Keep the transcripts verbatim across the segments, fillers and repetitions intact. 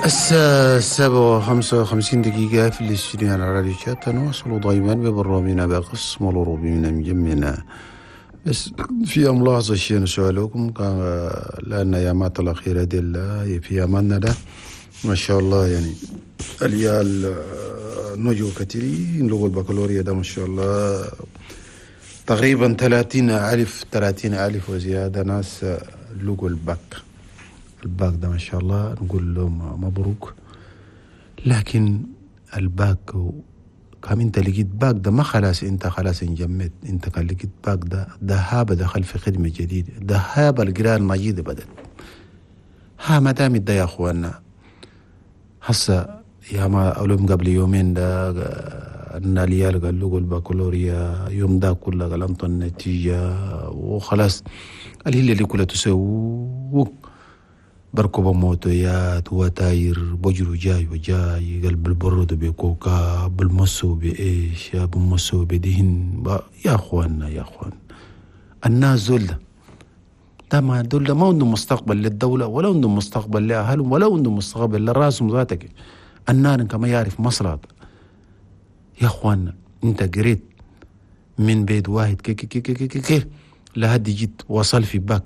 الساعة سبعة وخمسة وخمسين دقيقة في الاستوديو على راديو شات. نواصل دائما ببرنامجنا بقسم الأوروبي من مجمعنا. بس في ملاحظة شيء نسألكم، كان لأن أيامات الأخيرة دي في أيامنا ده ما شاء الله يعني العيال نجوا كثيرين لغوا البكالوريا ده ما شاء الله تقريبا ثلاثين ألف ثلاثين ألف وزيادة ناس لقوا ال bac ال bac ده ما شاء الله نقول لهم مبروك. لكن الباك كم انت لقيت باك ده ما خلاص انت خلاص انجمت، انت كان لقيت باك ده دهابة دخل في خدمة جديدة، دهابة القراءة المجيدة بدت. ها ما دام ده يا اخوانا هسه يا ما أولهم قبل يومين ده ان العيال قالوا البكالوريا يوم ده كله قال انطوا النتيجة وخلاص الهلة اللي كلها تسوق بركب موتويات وتاير بجرو جاي وجاي قلب البرد بكوكا بالمسو بإيش يا بالمسو بدهن. يا أخوانا يا أخوان الناس دول ده ما دول ما عندهم مستقبل للدولة ولا عندهم مستقبل لأهلهم ولا عندهم مستقبل لراسهم ذاتك. النار كما يعرف مصلحة. يا أخوانا أنت قريت من بيت واحد كي كي كي كي كي كي لهدي جيت وصل في باك،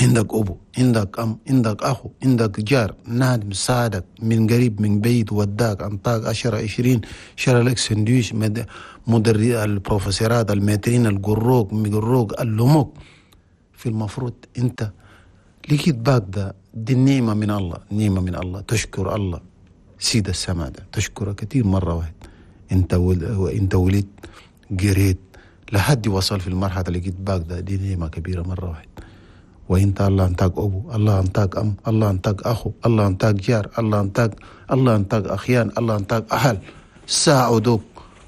عندك أبو عندك أم عندك أخو عندك جار نادم ساعدك من قريب من بعيد وداك أنطاك عشرة عشرين شرى لك سندويش مدري البروفيسورات المترين القروق مقروق اللموك. في المفروض أنت لقيت باك ده دي النعمة من الله، نعمة من الله، تشكر الله سيد السماء ده تشكره كثير مرة واحد. أنت ول... أنت ولدت قريت لحد وصل في المرحلة لقيت باك ده دي نعمة كبيرة مرة واحد. وانت الله انتاك ابو، الله انتاك ام، الله انتاك اخو، الله انتاك جار، الله انتاك الله انتاك اخيان، الله انتاك اهل ساعدوك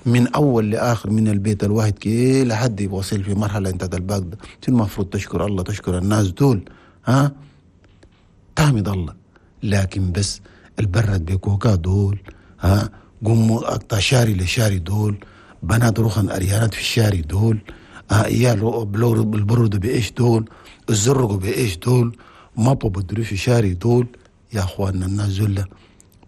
من اول لاخر من البيت الواحد كي لحد يوصل في مرحله انت الباك ده. المفروض تشكر الله تشكر الناس دول ها تحمد الله. لكن بس البرد بكوكا دول ها قوموا اقطع شاري لشاري دول بنات روخن اريانات في الشاري دول عيال البرد بايش دول الزرقوا بايش دول ما بدروا في شاري دول. يا اخواننا الناس دول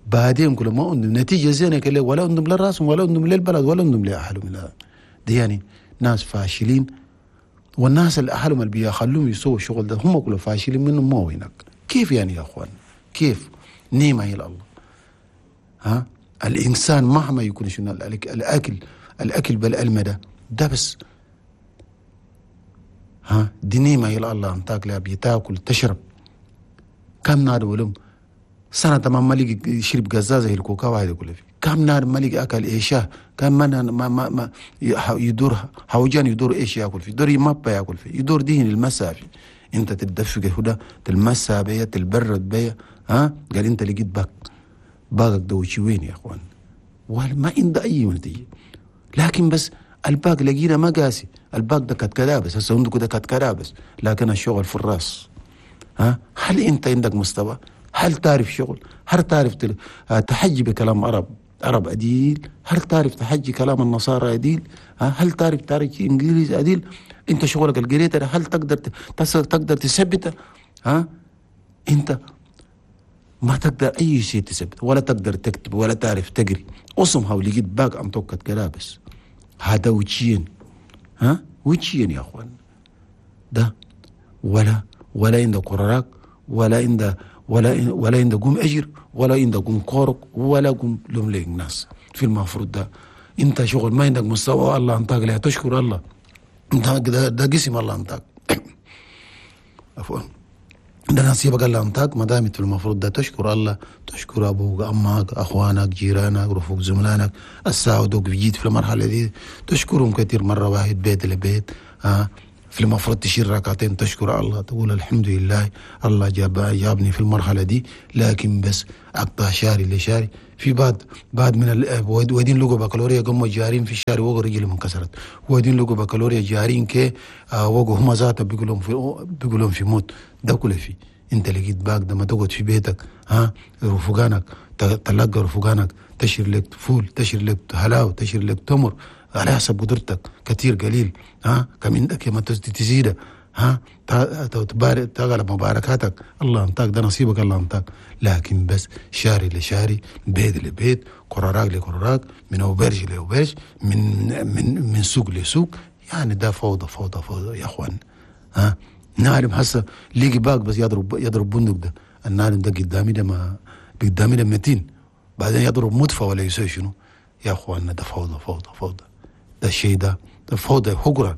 بعدين كل ما عندهم نتيجه زينه كله ولا عندهم للراسهم ولا عندهم للبلد ولا عندهم لاهلهم. لا دي يعني ناس فاشلين، والناس اللي اهلهم اللي بيخلوهم يسووا الشغل ده هم كلهم فاشلين منهم ما هو هناك. كيف يعني يا اخوان كيف نعمه هي الله ها الانسان مهما يكون شنو الاكل الاكل بالالمه ده ده بس ها دي نعمة هي الله انتاك لا بيتاكل تشرب. كم نار ولم سنة تمام مالك شرب قزازة الكوكا واحد يقول فيه كم نار مالك أكل إيشاه كم ما ما ما, ما يدور حوجان يدور إيش يأكل فيه يدور مابا يأكل فيه يدور دهن المسافة أنت تدفق هدا تلمسها بيا تلبرد بيا ها قال أنت لقيت باك باقك ده وشي وين يا أخوان وما عنده أي نتيجة. لكن بس الباق لقينا ما قاسي الباق ده كانت كلابس هسه عندك ده كانت كلابس لكن الشغل في الراس ها. هل انت عندك مستوى؟ هل تعرف شغل؟ هل تعرف تحجي بكلام عرب عرب أديل؟ هل تعرف تحجي كلام النصارى أديل؟ ها هل تعرف تعرف انجليزي أديل؟ انت شغلك القريت هل تقدر تقدر تثبته؟ ها انت ما تقدر اي شيء تثبت ولا تقدر تكتب ولا تعرف تقري. اصمها ولقيت باق ام توكت كلابس هذا وجهين ها وجهين يا اخوان ده ولا ولا عندك قرارك ولا عند ولا ولا عند قوم اجر ولا عند قوم كورك ولا قوم لهم لك ناس. في المفروض ده انت شغل ما عندك مستوى الله انتاك لا تشكر الله انت ده, ده قسم الله انتاك عفوا ده نصيبك الله انتاك ما دامت في المفروض ده تشكر الله تشكر ابوك امك اخوانك جيرانك رفوق زملانك الساعدوك جيت في المرحله دي تشكرهم كثير مره واحد بيت لبيت ها. في المفروض تشيل ركعتين تشكر الله تقول الحمد لله الله جاب جابني في المرحله دي. لكن بس اقطع شاري لشاري في بعد بعد من ال... ودين لقوا بكالوريا قاموا جارين في الشارع وقوا رجلهم انكسرت ودين لقوا بكالوريا جارين كي آه وقوا هم ذاتهم بيقولون في بيقولون في موت ده كله في انت لقيت باك ده ما تقعد في بيتك ها رفقانك تلقى رفقانك تشير لك فول تشير لك حلاوه تشير لك تمر على حسب قدرتك كثير قليل ها كم عندك ما تزيده ها تبارك تغلب مباركاتك، الله انطاك ده نصيبك، الله انطاك. لكن بس شاري لشاري، بيت لبيت، كوراك لكوراك، من auberge ل auberge، من من من سوق لسوق، يعني ده فوضى فوضى فوضى يا اخوان. ها نعلم هسه ليجي باك بس يضرب يضرب بندق ده، النعلم ده قدامي ده ما قدامي ده متين، بعدين يضرب مدفع ولا يسوي شنو يا اخواننا. ده فوضى فوضى فوضى، ده الشيء ده ده فوضى حقرة.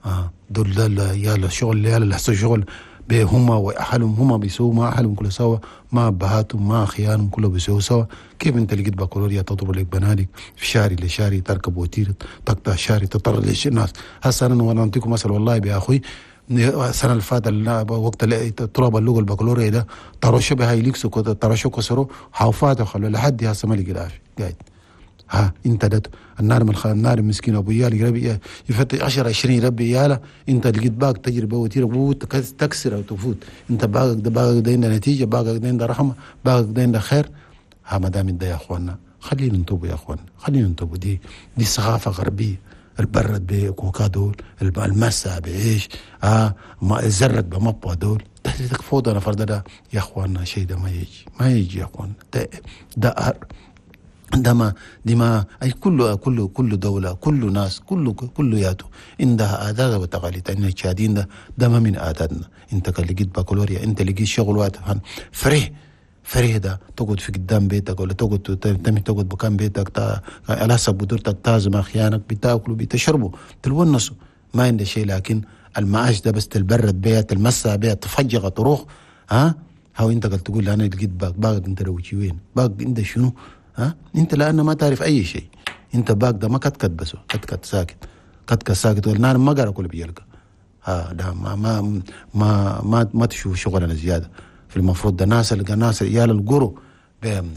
آه دول ده يالا شغل يالا لحسوا شغل هما واهلهم، هما بيسووا مع اهلهم كله سوا، مع ابهاتهم مع اخيانهم كله بيسووا سوا. كيف انت لقيت بكالوريا تضرب لك بنادق في شاري لشاري، تركب وتير تقطع شاري تطرد ليش الناس. هسه انا وانا اعطيكم مثل والله يا اخوي، السنة اللي فاتت وقت طلاب اللغة البكالوريا ده طرشوا بها يليكسوا طرشوا كسروا حوفات وخلوا لحد هسه ما لقي العافية قاعد. ها انت ده النار من النار المسكين ابو يالي يربي يفتح عشرة عشرين يربي يالا، انت لقيت باك تجربه وتير تكسر او تفوت، انت باقك ده باقك ده عنده نتيجة، باقك ده عنده رحمه، باقك ده عنده خير. ها ما دام ده يا اخواننا خلينا نتوب يا اخواننا، خلينا نتوب. دي دي ثقافة غربية، البرد بكوكا دول، المسا بعيش، اه ما الزرق بمبوا دول، ده فوضى نفر ده يا اخواننا. شيء ده ما يجي ما يجي يا اخواننا، ده ده ده ما دي ما اي كل كل كل دولة، كل ناس، كل كل ياتو عندها عادات وتقاليد. ان التشادين ده ده ما من عاداتنا. انت كان لقيت بكالوريا، انت لقيت شغل واتفهم فرح فرح ده تقعد في قدام بيتك ولا تقعد تمشي تقعد بكام بيتك على حسب قدرتك، تعزم اخيانك، بتاكلوا بتشربوا تلونسوا، ما عندك شيء. لكن المعاش ده بس تلبرد بيها، تلمسها بيها، تفجغ تروح. ها هاو انت قلت تقول انا لقيت باك باك انت لو وين باك انت شنو؟ ها انت لان ما تعرف اي شيء، انت باك ده ما كتكت بس كتكت ساكت كتكت ساكت والنار ما قرا كل بيلقى. ها ده ما ما ما ما, ما تشوف شغلنا زيادة. في المفروض ده ناس ناس عيال القرو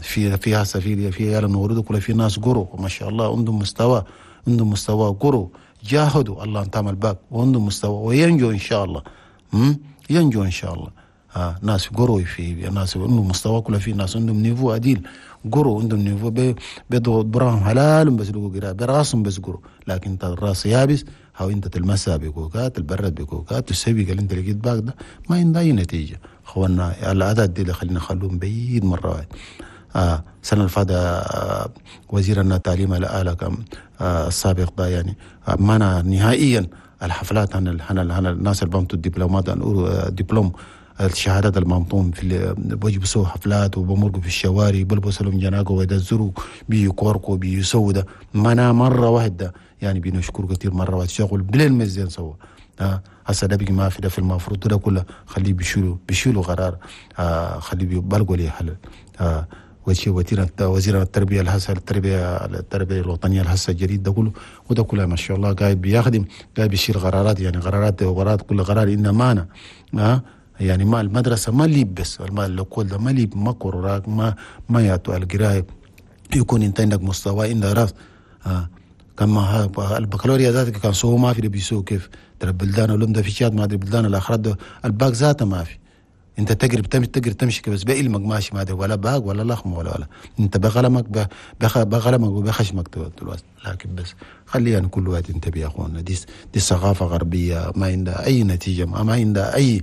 في في هسه في في عيال النورد كل في ناس قرو ما شاء الله عندهم مستوى، عندهم مستوى قرو جاهدوا الله انت عمل باك وعندهم مستوى وينجو ان شاء الله. امم ينجو ان شاء الله. آه ناس قرو في ناس عندهم مستوى كله، في ناس عندهم niveau عديل قرو عندهم niveau بي بيضوا براهم حلال بس لقوا قراءة براسهم بس قرو. لكن انت الراس يابس، هاو انت تلمسها بكوكات تبرد بكوكات تسوي قال انت لقيت باك ده ما عندها اي نتيجة. اخوانا العادات دي اللي خلينا نخلوهم بعيد مرة واحدة. آه السنة اللي فاتت آه وزير التعليم الآلة آه السابق ده يعني آه منع نهائيا الحفلات عن عن الناس اللي بمتوا الدبلومات دبلوم الشهادات الممطوم في بيجبسوا حفلات وبمرقوا في الشوارع بلبسوا لهم جناقه ويدزروا بيكوركوا بيسووا ده منع مرة واحدة. يعني بنشكر كثير مرة واحدة شغل بليل مزيان سوا. آه هسه ده بيجي ما في ده في المفروض ده كله خليه بيشيلوا بيشيلوا قرار، آه خليه بيبلغوا لي حل. آه وزير وزير التربية الهسه التربية التربية الوطنية الهسه الجديد ده كله وده كله ما شاء الله قاعد بيخدم قاعد بيشيل قرارات، يعني قرارات وقرارات كل قرار إنه مانا. آه يعني ما المدرسة ما ليب بس ما الكل ده ما ليب ما قراك ما ما يعطوا القراية يكون انت عندك مستوى عندك راس. آه كما البكالوريا ذاتك كان سووا ما في اللي بيسووا كيف ترى البلدان ولم ده في شاد ما ادري بلدان الاخرى ده الباك ذاته ما في. انت تقرب تمشي تقرب تمشي بس بعلمك ماشي ما ادري ولا باق ولا لخمه ولا ولا انت بقلمك بقلمك وبخشمك دلوقتي. لكن بس خلينا كل واحد ينتبه يا اخواننا، دي دي ثقافة غربية ما عندها اي نتيجة، ما عندها اي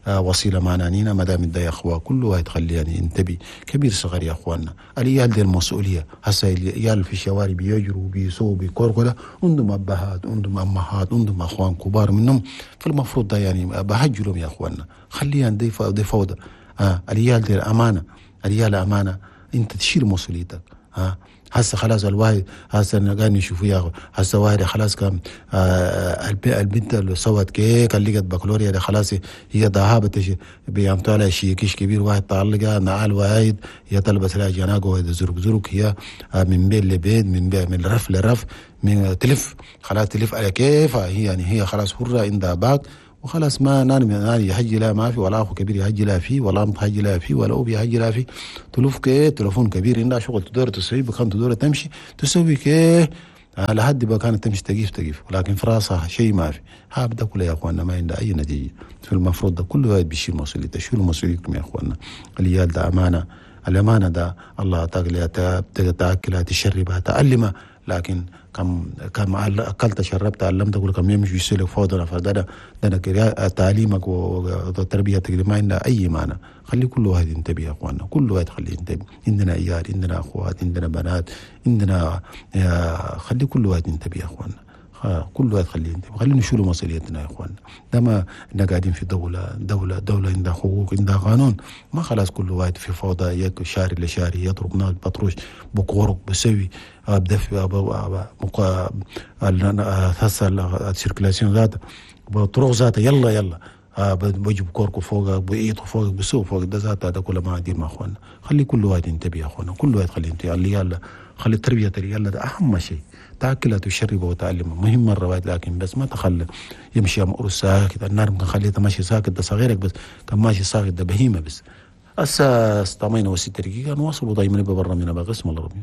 وسيلة معنا نينا. ما دام ده يا اخوه كل واحد خلينا ينتبه كبير صغير يا اخواننا. العيال دي المسؤولية هسه العيال في الشوارع بيجروا بيسووا بيكوركوا ده عندهم ابهات عندهم امهات عندهم اخوان كبار منهم، فالمفروض ده يعني بهجلهم يا اخواننا. خلينا دي دي فوضى. آه العيال دي امانه، العيال امانه، انت تشيل مسؤوليتك. آه هسه خلاص الواحد هسه قاعد نشوف يا هسه واحد خلاص كان آه البنت اللي سوت كيك اللي لقت بكالوريا ده خلاص هي ذهبت بيعملوا لها شيء كيش كبير واحد طالقها نعال واحد هي تلبس لها جناقه واحد زرق زرق هي آه من بيت لبيت من بيت من رف لرف من تلف خلاص تلف على كيفها هي، يعني هي خلاص حره عندها باك وخلاص ما نان نان يحجي لا ما في ولا اخو كبير يحجي لا فيه ولا ام تحجي لا فيه ولا اب يحجي لا فيه. تلوف كي تلفون كبير عندها شغل تدور تسوي بكان تدور تمشي تسوي كي لحد ما كانت تمشي تقيف تقيف، ولكن في راسها شيء ما في. هذا كله يا اخواننا ما عنده اي نتيجة. في المفروض ده كل واحد بيشيل مسؤوليته، شيلوا مسؤوليتكم يا اخواننا. العيال ده امانه، الامانة ده الله اعطاك لها تاكلها تشربها تعلمها، لكن كم كم اكلت شربت علمت كل كم يمشي يسلك فوضى فده ده ده تعليمك وتربيتك ما عندها اي معنى. خلي كل واحد ينتبه يا اخواننا، كل واحد خليه ينتبه. عندنا عيال، عندنا اخوات، عندنا بنات، عندنا خلي كل واحد ينتبه يا اخواننا، كل واحد خليه ينتبه. خلينا نشيلوا مسؤوليتنا يا اخواننا. ده ما احنا قاعدين في دولة دولة دولة عندها حقوق، عندها قانون. ما خلاص كل واحد في فوضى، يك شاري لشاري يضرب نار بطروش بكورك بسوي بدفع هسه ال circulation ذاتها بطرق ذاتها يلا يلا بجيب كوركو فوقك بإيطو فوقك بسوق فوق ده ذاتها ده كله ما عادي مع اخواننا. خلي كل واحد ينتبه يا اخواننا، كل واحد خليه ينتبه. يلا خلي التربية يلا ده أهم شيء، تأكلها وتشربها وتعلمها مهم الروايات، لكن بس ما تخلي يمشي أمر ساكت. النار ممكن خليته ماشي ساكت ده صغيرك بس، كان ماشي ساكت ده بهيمة بس. هسه استمينا وست دقيقة نواصل دايما ببرنامجنا بقسم العربي.